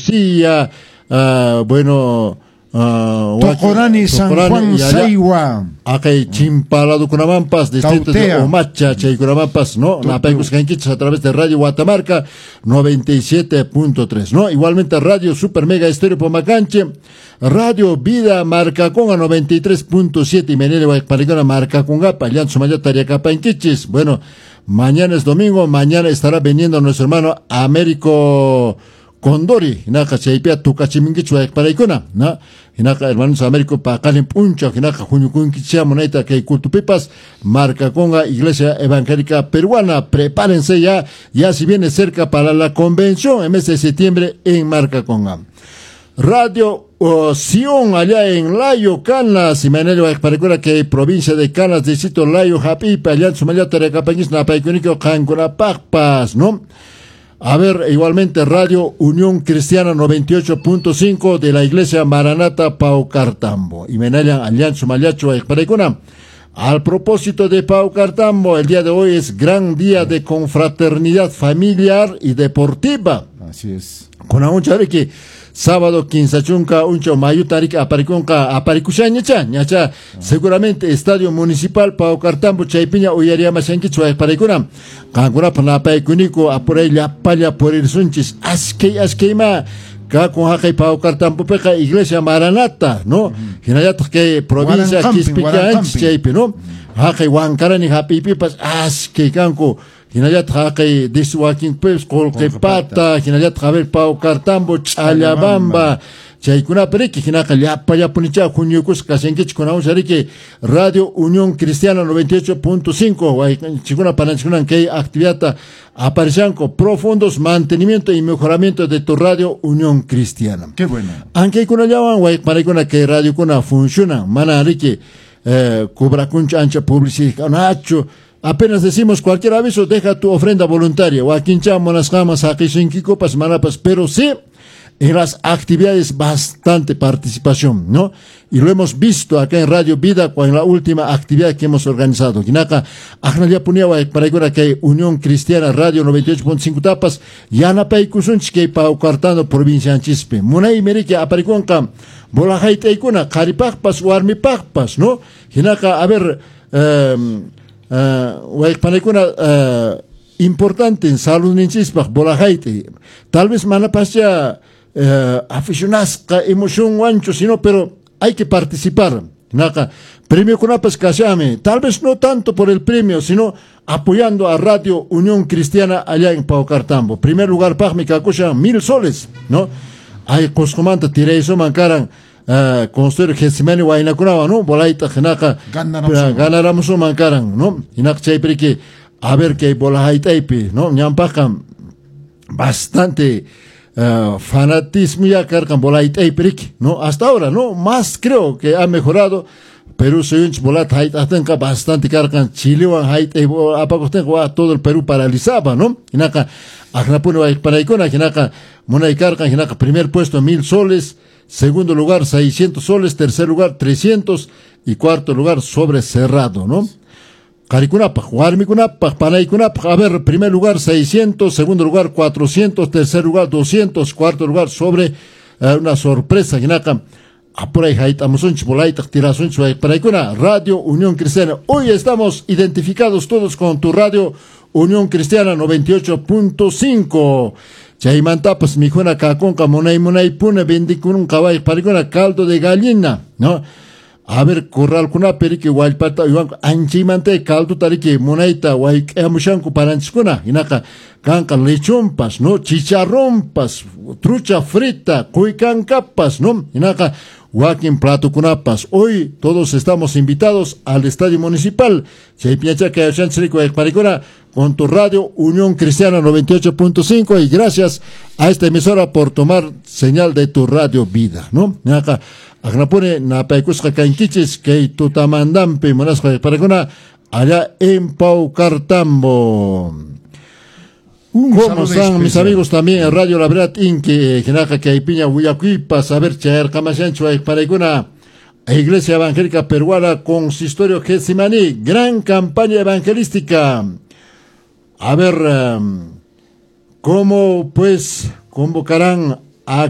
Lucía, bueno, Tocorani, San Juan, Saiwa. Akay chimpaladukunamampas, distrito de Omacha, chaykunamampas, ¿no? Napaykusqankichis a través de Radio Guatamarca 97.3, ¿no? Igualmente Radio Super Mega Estéreo Pomacanche, Radio Vida Marcaconga 93.7 y Menele Guayparicona Marcacongapa, Llanzo Tariacapanquichis. Bueno, mañana es domingo, mañana estará viniendo nuestro hermano Américo Condori, hinaqa chaypiqa tukachiminkichik wayqparaykuna, ¿no? Hinaqa hermanos Américo paqarin p'unchaw hinaqa huñukunkichik munayta kay cultupipas Marcaconga Iglesia Evangélica Peruana, prepárense ya, ya si viene cerca para la convención en mes de septiembre en Marcaconga. Radio Sion allá en Layo, Canas, y Manelo Wayqparaykuna que provincia de Canas, distrito Layo, Hapipa, allá en Sumayata, Recapañis, Napaykuniko, Qancunapaqpas, ¿no? A ver, igualmente Radio Unión Cristiana 98.5 de la Iglesia Maranata Paucartambo. Y Menaya Alianza Mayacho Wayqparaykuna. Al propósito de Paucartambo, el día de hoy es gran día de confraternidad familiar y deportiva. Así es. Con que sábado 15 chunka unchaw mayuta riki aparikunqa aparikushañacha ñacha seguramente Estadio Municipal Paucartambo chaypiña uyariyamashankichik wayqparaykuna qankunapaq napaykuniku apuray llapalla purirsunchis askay askayma kakun haqay Paucartambopiqa Iglesia Maranata, ¿no? Hinallataq kay provincia Quispicanchis chaypi, ¿no? Haqay Wankarani hap'iypipas askay kanku hinallataq haqay diswakinpis Qullqipata, hinallataq a ver Paucartambo, Ch'allabamba, chaykunapi riki hinaqa llapallapunicha huñukusqa kashankichik kunawancha riki Radio Unión Cristiana 98.5 wayqinchikkuna pananchikkunan kay actividadta aparishanku profundos mantenimiento y mejoramiento de tu Radio Unión Cristiana. Qué bueno. Ankaykunallawan wayqparaykuna kay radiokuna funcionan mana riki cobrakunchu ancha publicidad. Apenas decimos cualquier aviso, deja tu ofrenda voluntaria. Wakincha munasqaman saqisunkikupas manapas, pero sí en las actividades bastante participación, ¿no? Y lo hemos visto acá en Radio Vida con la última actividad que hemos organizado. Hinaqa, aknallapunia wayqparaykuna kay Unión Cristiana Radio 98.5 tapas, yanapaykusunchik kay Paucartambo provincianchispi. Munaymi riki aparikunqa bola hayt'aykuna qharipaqpas warmipaqpas, ¿no? Hinaqa, a ver, wayqpanaykuna importante en saludninchispaq bola hayt'ay. Tal vez manapascha aficionasqa emocionwanchu, sino, pero hay que participar. Hinaqa, premiokunapas kashami, tal vez no tanto por el premio, sino apoyando a Radio Unión Cristiana allá en Paucartambo. Primer lugar paqmi kakushan 1000 soles, ¿no? Ay Qusqumanta tiraysuman karan construir Getsemani waynakunawan, ¿no? Bolayta hinaqa ganaramusunman karan, ¿no? Hinaqa chaypi a ver kay bola hayt'aypi, ¿no? Ñampaqqa bastante fanatismo ya karqan bola hayt'aypi riki, ¿no? Hasta ahora, ¿no? Más creo que ha mejorado. Perú suyunchik bolata hayt'aqtinqa bastante karqan Chilewan hayt'ay apakuqtinqa todo el Perú paralizaba, ¿no? Hinaqa aknapuni wayqpanaykuna hinaqa munay karqan hinaqa primer puesto 1000 soles, segundo lugar 600 soles, tercer lugar 300 y cuarto lugar sobre cerrado, ¿no? Qharikunapaq, warmikunapaq, panaykunapaq, a ver, primer lugar 600, segundo lugar 400, tercer lugar 200, cuarto lugar sobre una sorpresa, hinaqa apuray hayt'amusunchik bolaytaq tirasunchik wayqpanaykuna Radio Unión Cristiana. Hoy estamos identificados todos con tu Radio Unión Cristiana 98.5. Chaymantapas mikhuna kakunqa munay munaypuna vendikunqa wayqpanaykuna caldo de gallina, ¿no? A ver, corralkunapi riki wallpata uywanku anchaymanta calduta riki munayta wayk'amushanku paranchiskuna hinaqa kanqa lechonpas, ¿no? Chicharronpas, trucha frita, quykankapas, ¿no? Hinaqa wakin platokunapas. Hoy todos estamos invitados al Estadio Municipal. Chaypiñachá kayashanchik wayqpanaykuna con tu radio Unión Cristiana 98.5 y gracias a esta emisora por tomar señal de tu radio Vida, ¿no? Hinaqa aknapuni napaykusqa kankichis kay tutamantampi munasqa wayqpanaykuna allá en Paucartambo. ¿Cómo están mis amigos también en Radio La Verdad Inki? Hinaqa kaypiña willakuypas, a ver, chayarqamashanchu wayqpanaykuna Iglesia Evangélica Peruana, Consistorio Getsemaní, gran campaña evangelística. A ver, ¿cómo pues convocarán